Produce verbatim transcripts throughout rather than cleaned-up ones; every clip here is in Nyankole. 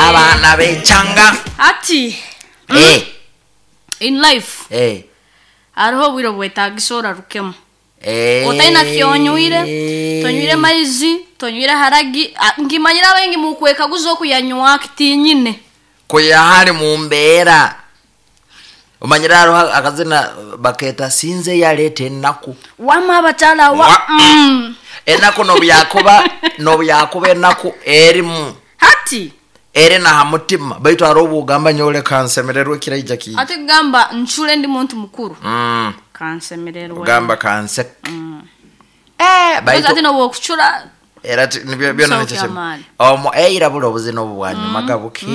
Abaana b'ekyanga. Ati Eh, in life eh, hariho obwire obwetagisa orarukemu. Eh. Otaina kyonywire, tonywire maizi, tonywire haragi. Ah, nkimanyira abaingi mukwekaguza okuyanywa kitinyine. Kuyahali mu mbeera omanyire hariho akazina bakeeta sinze yaleeta ennaku. Wama abakyala wa Wa- mm. Ennaku nobyakuba nobyakuba ennaku erimu Hati eri naha mutima, baitu hariho obugamba nyowe kansemererwe kiraija kiija. Ati kugamba ncure ndi muntu mukuru. Mm. Kansemererwe. Ogamba kanseke. Eh, Because baitu ati nobwokucura era ti- nibyo byona Nsooka nikyo kimu. amaani. Omo eira buli obuzina obu bwanyumaga buke.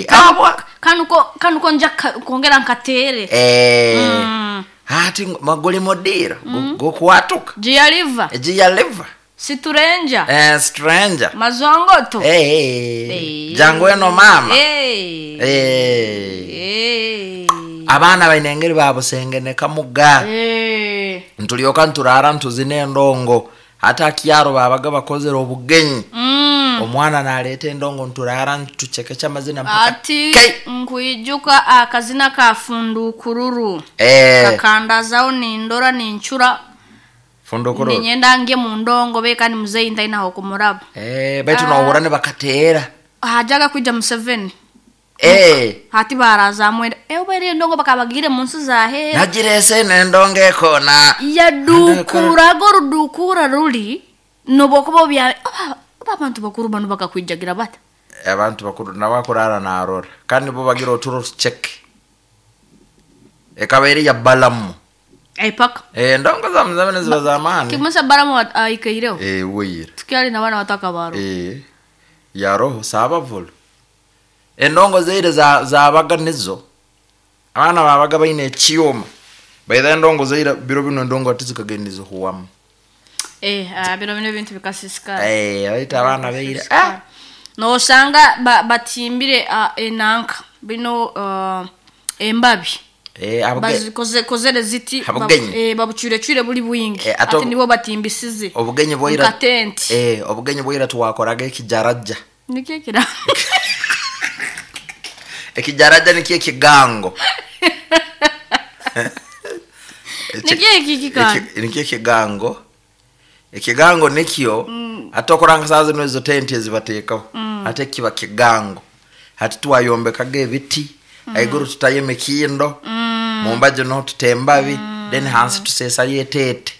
Abwa kanuko kanuko nja ka- kwongera nkateere. Eh. Mm. Ati maguli modira gokuwatuka. Jiyaliva. Ejiyaliva. Siturenja. Eh, stranger. Mazongoto. Eh, eh. Eh. Jangu eno mama. Eh. Eh. Eh. Abaana baine engeri babusengeneka muga. Eh. Ntulyoka nturara ntuzina endongo. Hata akiaro babaga bakozere obugenyi. Mm. Omwana naleeta endongo nturara ntuchekecha amazina mpaka. Ati Kei. nkwijuka akazina ka fundukururu. Eh, Kakandazaho nindora nincura. Fundukururu. Ninyenda nge mu ndongo beka ni muzeyi ntainaho kumuraba. Eh, baitu nohura nibakateera. Hajaga kwija Museveni. Eh. Hati barazamwenda. Eh, ubaire endongo bakabagire mu nsi za hehe. Nagirese nendongo ekona. Yadukurago rudukura ruli nobwokuba obya oba oba abantu bakuru bano bakakwijagira bata. Abantu bakuru nabakurara narora kandi bo bagira oturo tucheke ekaba eri ya balamu. Epaka. Eh, endongo za Museveni ziba z'amaani. Kimasa baramu aikaireho. Eh, weyire. Tukyali na bana wataka baro. Eh, yaroho saabavulu endongo zaire za- zabaga nizo abaana babaga baine ekyoma baitha endongo zaire biro bino endongo ati zikagenda zihuwamu. Eh, ah, bino bino ebintu bikasisikara. Eh, baita abaana baire ah. Nosanga ba, batimbire ah, enanka bino ah, embabi. Eh, abuge- Bazikoze kozere ziti Abugenyi. babu- eh, babucure buli bwingi. Eh, ate Ati nibo batimbisize. obugenyi bwaira Nka tenti. eh, obugenyi bwaira twakoraga ekijaraja. Nikyo kira. Ekijaraja nikyo ekigango. Nikyo iki kikandi. Eki- nikyo ekigango. Ekigango nikyo ate okuranga saa zino ezo tenti ezibateekaho ate kiba kigango. Hati twayombekaga ebiti aiguru tutayo emikindo, mumbajo niho tuta embabi, then hansi tuseesayo eteete,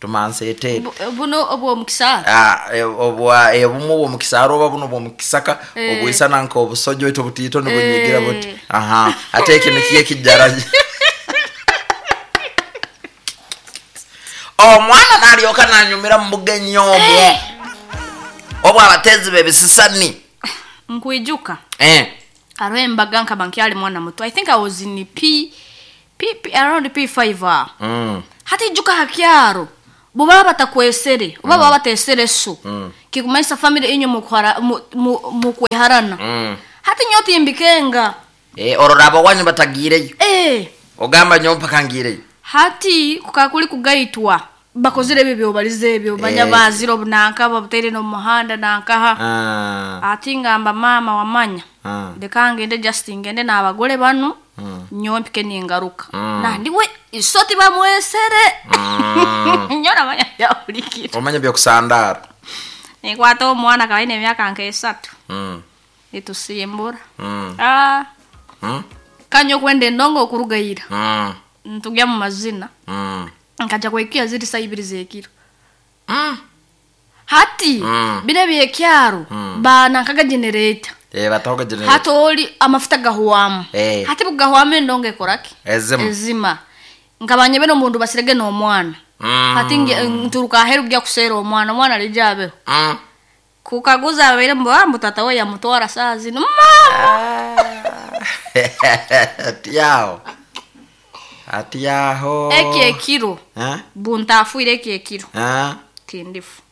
tumansa eteete. Bu- Buno obw'omukisara. Ah, e- obwa ebumwe obwomukisara oba buno obwomukisaka Eh. obwisana nka obusojo oitu obutiito nibunyigira Eh. buti. Aha, ate eki nikyo ekijaraja. Omwana naryoka nanyumira mu bugenyi obwo obwo abateezi b'ebisisani. Nkwijuka. Eh. Hariho embaga nkaba nkyali mwana muto. I think I was in P P, P around P five aho. Mm. Hati ijuka hakyaro bubaba batakwesere oba baba batesere so kikumanyisa family inyo mukwara- mu- mu- mukweharana. Mm. Hati nyo timbikenga. Eh, orora abawanyu batagiireyo. Eh. Ogamba nyowe mpaka ngiireyo. Hati kukakuli kugaitwa bakozere ebyo byobalize ebyo banya Eh. bazira obunanka babuteire n'omuhanda nankaha. Ah. Ati ngamba mama wamanya Ah. leka ngende, just ngende n'abagole bano Mm. nyowe mpike ningaruka. Mm. Nandiwe isoti bamwesere Mm. nyo namanya byahulikire. Omanya byokusandara. Nikwata omwana kabaine emyaka nk'esatu. Mm. Nitusimbura. Mm. Ah, Mm. kanya okwenda endongo okurugaira Mm. ntugya mu mazina. Mm. Nkaja kwekiya ziri saa ibiri z'ekiro. Mm. Hati Mm. bire byekyaro Mm. banankaga generator. Eh, batahoga generator. Hati oli amafuta gahwamu. Eh. Hati bugahwamu endongo ekoraki? Ezima. Ezima. Nkabanye bene omundu basirege n'omwana. Mm. Hati nge- nturuka aheru kujya kuseera omwana, omwana alijabeho. Mm. Kukaguza abaire mbu tata we yamutwara saa zino mama. Ati aho. Ati aho. Eki ekiro Eh? buntafuire eki ekiro Eh? tindifu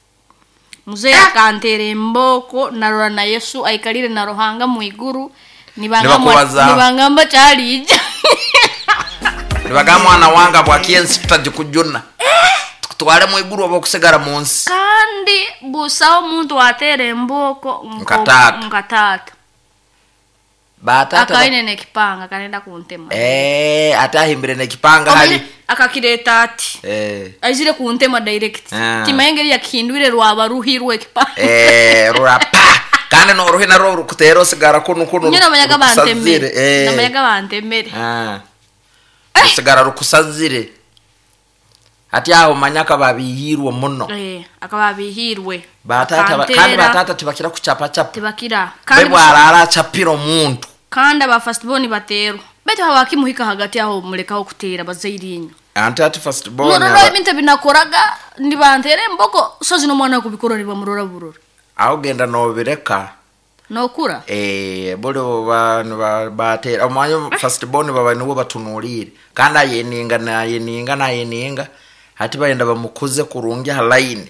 muzeyi akantera emboko narora na Yesu aikalire na Ruhanga mwiguru Nibakubaza. nibangamba kyaliija. Nibaga mwana wanga bwakiensi tutagikujuna. Bakutware mu iguru oba okusigara mu nsi. Kandi busaho omuntu ateera embooko Nka taata. Nka taata. Batata ba- Akaine nekipanga kanenda kuntema. Eh, ate ahimbire nekipanga hali. Omanyire, akakireeta ati Eh. aizire kuntema direct. Ah. Timanye engeri yakihindwire rwaba ruhirwe ekipanga. Eh, rurapa. Kandi noruhi narwo rukutera osigara kunu kunu. Nyo namanyaga bantemere. rukusazire. Eh. Namanyaga bantemere. Ah. Rusigara rukusazire. Ati aho manyaka babihirwe muno. Eh, akaba abihirwe. Batata ba- kandi Akantera, batata tibakira kuchapachapa. tibakira. Kandi Bebwarara achapira omuntu. kandi aba first born baterwa. Baitu habakimuhika hagati aho mulekaho kuteera bazaire inyo. Anti ati first born. Norora aba- ebintu ebinakoraga nibanteera emboko sozi n'omwana kubikora nibamurora burora. Aho genda nobireka. Nokura. Eh, buli bantu batera omwanya first born baba nibo batunuulire kandi ayeninga nayeninga nayeninga hati bayenda bamukuze kurungi ha line.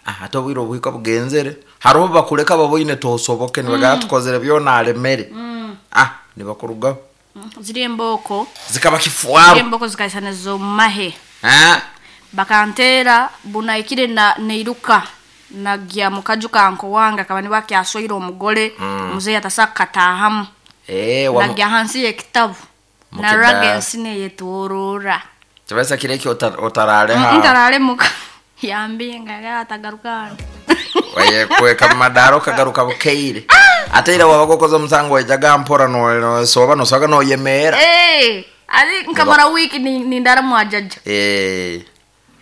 Ah, ate obwire obuhika bugenzere hariho bakuleka baboine tosoboke nibagaba mm. tukozere byona alemere mm. ah nibakurugaho Mm, Ziri emboko. zikaba Ziri kifuaro emboko zikaisana zomahe. ah Bakantera bunaikire na neiruka nagya mukaju kanko wange akaba niba kyaswaire omugole mm. Muzeyi atasaka katahamu. eh wa Nagya hansi y'ekitabu. Mukida. Naraga ensi neyetworora. kibasa kireki otarale ha Ntarale muka yambinga atagaruka hano. Waye kweka mumadaro kagaruka bukeire ate ira wabaga okoze omusango waijaga mpora no- nosoba nosoga noyemera. Eh, ari nkamara wiki ni- nindara mwajaja. Eh.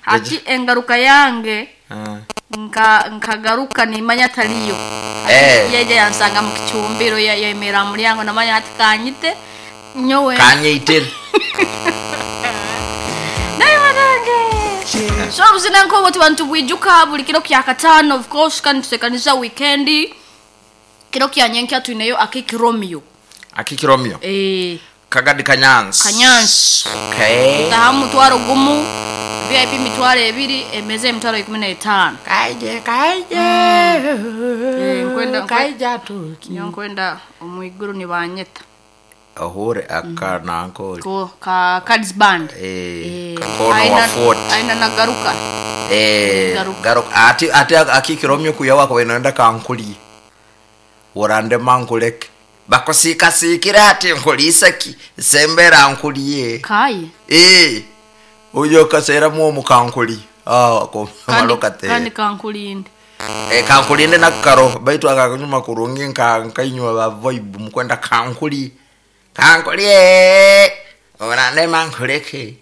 Hati engaruka yange Ah. nka nkagaruka nimanya atariyo. Eh. Yeje yansanga mu kicumbiro ya- yemera mulyango namanya ati kanyite nyowe. Kanyeitere. Naye banange. So buzina nkobo tubantu bwijuka buli kiro kya katano of course kandi tusekaniza weekend. Kiro kya nyenkya tuineyo akiki Romeo. Akiki Romeo. Eh, Kagadi Kanyansi. Kanyansi. Okay. Tahamu mutwaro gumu V I P mitwaro ebiri emeze emitwaro ikumi na etaano. Kaije kaije. Eh, nkwenda Kaija tuki. nyo nkwenda omwiguru nibanyeta. Ahure akanankoli. Ko ka Cards Band. Eh, Eh, kakono wa aina- forty. Aina nagaruka. Eh, Garuka. garuka ati ati akiki Romeo kuyawa kwa inaenda kankuli. Urande mankuleke. Bakusika sikira ati nkulisaki sembera nkuliye. Kai. Eh. Uyo kasera mu mukankuli. Ah, ko Kandi maloka te. kandi kankulinde. Eh, kankulinde nakaro baitu akakunyuma kurungi nka nkainywa ba vibe mukwenda kankuli. Kankuli. Urande mankuleke.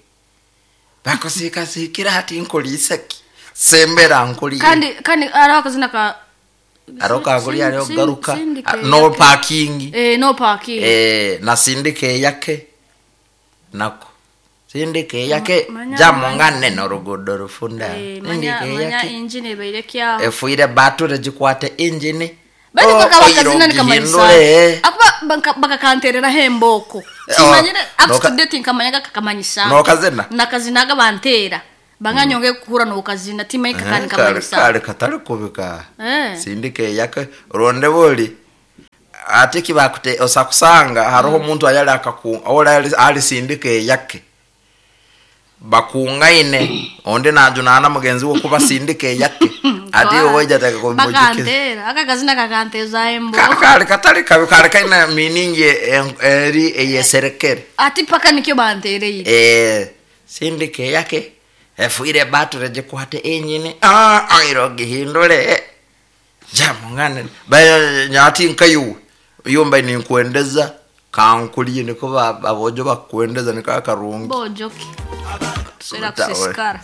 Bakusika sikira ati nkulisaki sembera nkuliye. Kandi kandi araho akazina ka Aro kankuli Sin- ariho sin- garuka. sindike Ah, no yake. parking. Eh, no parking. Eh, na sindike yake nako sindike yake Manya- jamungane norugudo rufunda. Eh, manya Sindike manya yake engine ebeire kyaho. efuire bature gikwate engine. Baitu Oh, kakaba oiro akazina nikamanyisa. gihindure. Akuba banka- bakakanterera hemboko. Eh, Simanyire oh, up noka- to date nkamanyaga kakamanyisa. Nokazina? Nakazinaga bantera. Banganyonge kuhura nokazina timanyi Eh, kakani kale kamanyisa. kale katali kubika. Eh. Sindike yake ronde boli ate kibakute osakusanga hariho omuntu ayali akaku ola ali, ali sindike yake bakungaine onde najunana mugenzi we kuba sindike yake ati oweja taka kumujukiza. Bakantera aka kazina kakanteza emboko. Kale katali kabi kale kaina meaning eri eyeserekere. Ati paka nikyo bantereye. Eh, sindike yake efuire bature gikwate enyini ah airo gihindure jamungane bayo nyati nkayu yomba ninkuendeza kankuliye niko ba- abojo bakuendeza niko akarungi. Bojoki. Tusera Uta- kusisikara.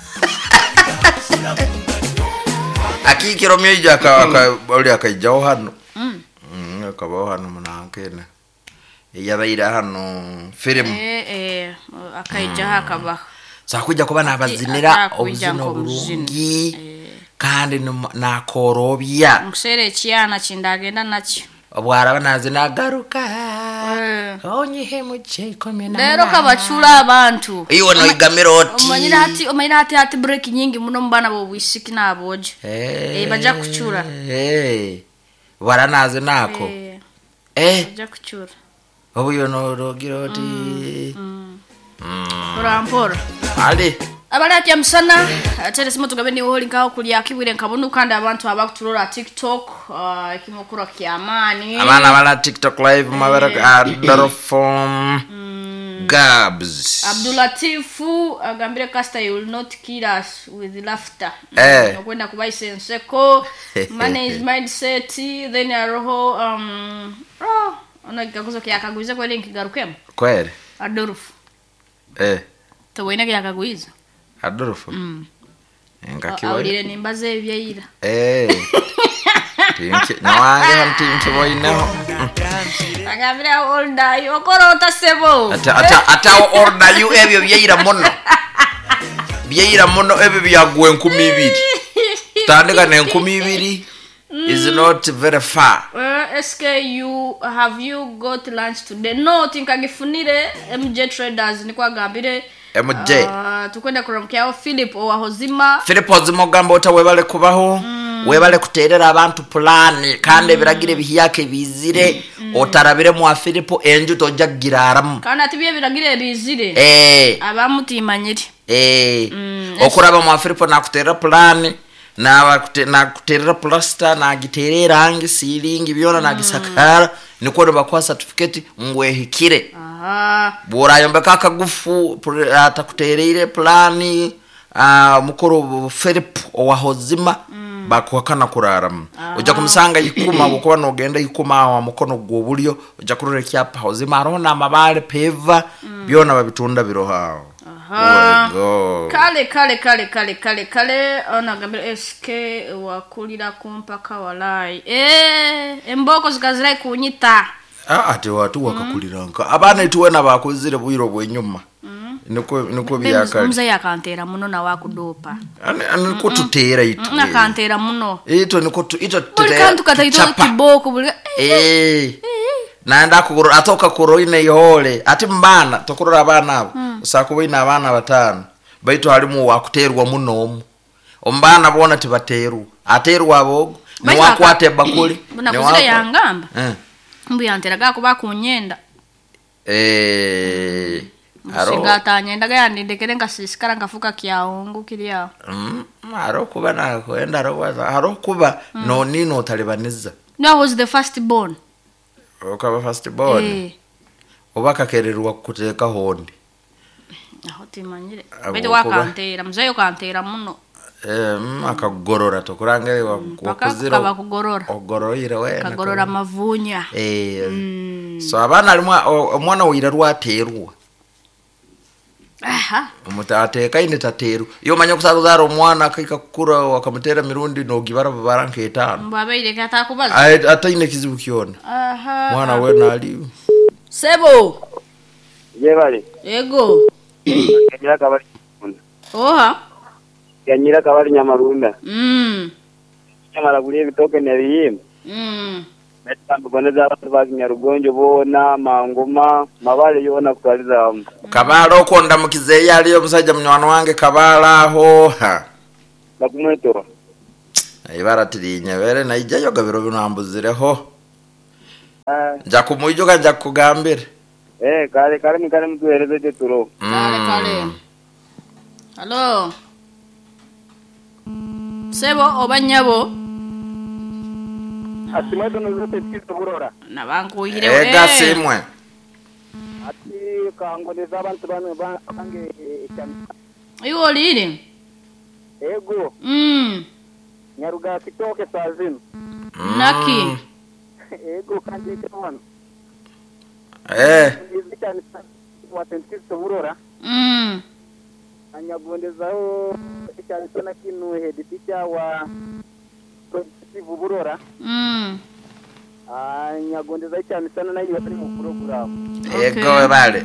Akikiro myeja aka aka oli akaijaho hano mm akabaho hano munankene yabaire hano film. Eh eh akaijaho akabaho. Sakuja kuba nabazinira Atakuija obuzina nk'omuzini. obulungi kandi nimu- nakorobya. Nkuseera ekyana kindagenda nakyo. Obwaraba nazina agaruka Eh. onyihe muche ikumi na Leero munana. kabacula abantu. Iwe noigamira oti Omanyire hati omanyire hati hati break nyingi muno mu baana b'obwisiki n'aboojo. Eh, Eh, bajja kucura. eh. Bwara nazinako. Eh, Eh, bajja kucura. obuyo norogira oti. Mpora mpora. Ali. Abalakya musana tere simu tugabe ni holi nkaho kulya kibwire nkabonu kandi abantu abakuturora TikTok uh, ekimukura kyamani Abaana bala TikTok live mabara Adolfo Gabs. Abdulatifu agambire Caster, you will not kill us with laughter. Eh. Okwenda kubaisa enseko, money is mindset, then aroho um oh ono kikaguzo kyakagwiza kweli nkigarukemu. Kweli. Adolfo. Eh. Tewena kyakagwiza. Adolfo. Mm. Ngakiwa. Awulire nimbaza ebyeira. Eh. Tinki nawange hamtinki boineho. Agambire old are you okorota sebo. Ata ata ata order you ebyo byeira muno. Byeira muno ebyo byagwe enkumi ibiri. Tandika n'enkumi ibiri is not very far. Uh, S K, you have you got lunch today? No, tinkagifunire M J Traders nikwagambire. M J. Uh, tukwenda kuramukyaho Philip owahozima. Philip Ozima ogamba ota webale kubaho mm. Webale kuterera abantu pulani kandi ebiragiro ebihiyaka ebizire mm. Otarabire mwa Philip enju tojja kugiraramu. Kandi ati byebiragiro ebizire eh abamutimanyire. Eh Mm, okuraba mwa Philip nakuterera pulani nakuterera plaster, nagiterera erangi, silingi byona, nagisakara nikwo nibakuha certificate ngwehikire. Aha. Bworayombeka akagufu pr- atakutereire plani, uh, mukuru Philip owahozima mm. bakuhakana kuraramu, ojja kumusanga ikuma bwokuba nogenda ikuma awo mukono gw'obulyo ojja kurora ekyapa Hozima, hariho n'amabaale peva mm. byona babitunda biroho awo. Aha. Wego. Kale kale kale kale kale kale ono agambire S K wakulira kumpaka walai eh emboko zikazirai kunyita. Ah, ate watu wakakulira nka abaana ituwena bakuzire bwiro bwenyuma niko niko byakale. Muzeyi akantera muno nawe akudopa. Ani- ani niko tuteera itwe. Akantera muno. Itwe niko tu- itwe Buli tuteera kantu kataito tuchapa. kiboko buli Eh. Naenda kugurura atoka kuroine ihole ati mbana tokurora abaana abo mm. Usakuba ine abaana batano baitu halimu wakuterwa muno omu omubaana boona tibaterwa, aterwa abogo Baitu niwakwata ebakuli. Bunakuzire yangamba Eh. mbu yanteraga kuba kunyenda. Eh, haro- Singa atanyendaga yandindekere nkasisikara nkafuka kyawungu kiri awo. Mm, haro kuba nakwenda haro kuba haro kuba noni notalibaniza. No, I was the first born. Okaba first born. Eh. Oba kakererwa kuteeka hondi. Aho timanyire. Abo Baitu kuba- wakantera muzeyi okantera muno. Eh, mm, akakugorora tokurangire Paka wakuzire kukaba kugorora. Ogoroire wena. Kagorora mavunya. Eh, so abaana alimu o- omwana wira rwaterwa. Aha. Omutu ateekaine taterwa iyo omanya okusakuzaara omwana akaika kukura wakamutera mirundi nogibara babara nk'etaano. Mbu abaire katakubaza. Aye, ataine kizibu kyona. Aha. Mwana wena ali Sebo. Yebale. Ego. Yanyira kabali Nyamarunda. Oha. Yanyira kabali Nyamarunda. Mm. Nyamara kuli ebitoke nebiyimba. Mm. Netambugondeza abantu ba Nyarugonjo boona mangoma mabale yoona kutwaliza hamu. Kabaala okwo ndamukizeeyo aliyo omusajja munywani wange kabaala aho ha. Bakumweto. Ibara tirinyebere naijayo gabiro bino ambuzireho. Ah, Nja kumwijuka nja kukugambira. eh kale kale mikale mtueleze turo. Kale kale. Hello. Sebo oba nyabo. Asimweto nozote tikizo burora. Nabankuhire. Ega simwe. Ati kangondeza abantu bano bange. Iwe olire. Ego. Mm. Nyaruga kitoke saa zino. Naki. Ego kandi wano. Eh, Wa burora. Mm. Anyagondezaho ekyalisona kinu head teacher wa Progressive Burora. Mm. Anyagondeza ekyamisana nayo bali mu program. Ego webale.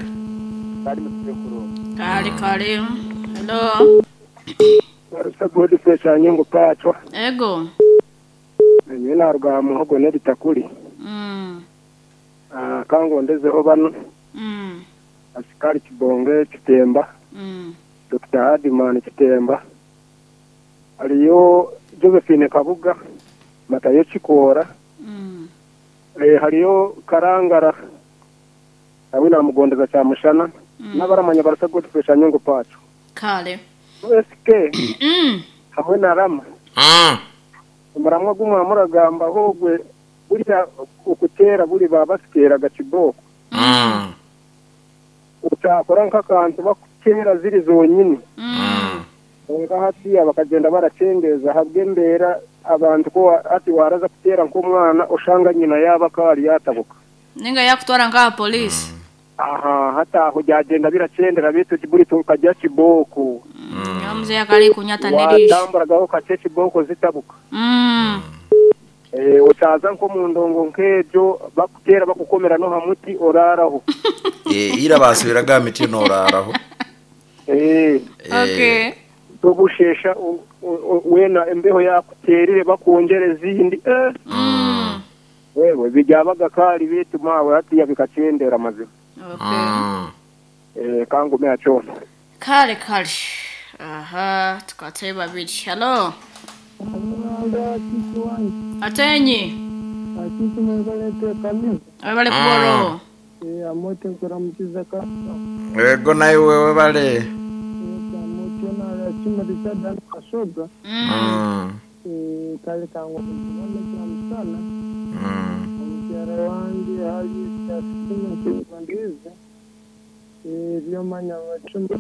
Bali mu sekuru. Kale kale. Hello. Arusa Godfrey Sanyongo Pachwa. Ego. Nyowe naruga muhogo n'ebitakuri. Mm. Ah, kangondezeho bano Mm. Asikari Kibonge Kitemba, Mm. Doctor Adimani Kitemba, hariyo Josephine Kabuga, Matayo Kikoora, Mm. eh, hariyo Karangara awe namugondeza kyamushana n'abaramanya Barusa Godfrey Sanyongo Pachwa. Kale. S K Mm. hamwe na Rama. Mm. Omuramwa gumwe muragamba hogwe burya okutera buri babasikeraga kiboko. Mm. Utakora nk'akantu bakutera ziri zonyine. Mm. Nka hatiya bakagenda baracengeza habw'embeera abantu ko wa- ati waraza kutera nk'omwana oshanga nyina yaba kari yatabuka. Ninga yakutwara nka polisi. Aha hataho byagenda biracendera bitu buri tukajya kiboko. Mm. Muzehe akali kunyata nerisho. Watamburagaho kake kiboko zitabuka. Mm. Eh, utaza nko mu ndongo nk'ebyo bakutera bakukomera no hamuti oraraho. Eh, ira basubiraga miti noraraho. Eh, Eh, Okay. tobushesha u- u- u- wena imbeho yakuterire bakongera izindi eh. Mm. Wewe bijyabaga kari bitu mawe hatiya bikacendera mazima. Okay. Mm. Eh, kangume acona. Kale kale. Aha, tukateye babiri. Hello. Atenyi. Abale kuboro. Amote nkuramukiza ka Ego nawe wewe bale. amote na kimurisa dan kasoga. Mm. Mm. Kale kangu mwana kya Mm. omukyala wange hali kyasimu nkibandize ebyomanya bacuma.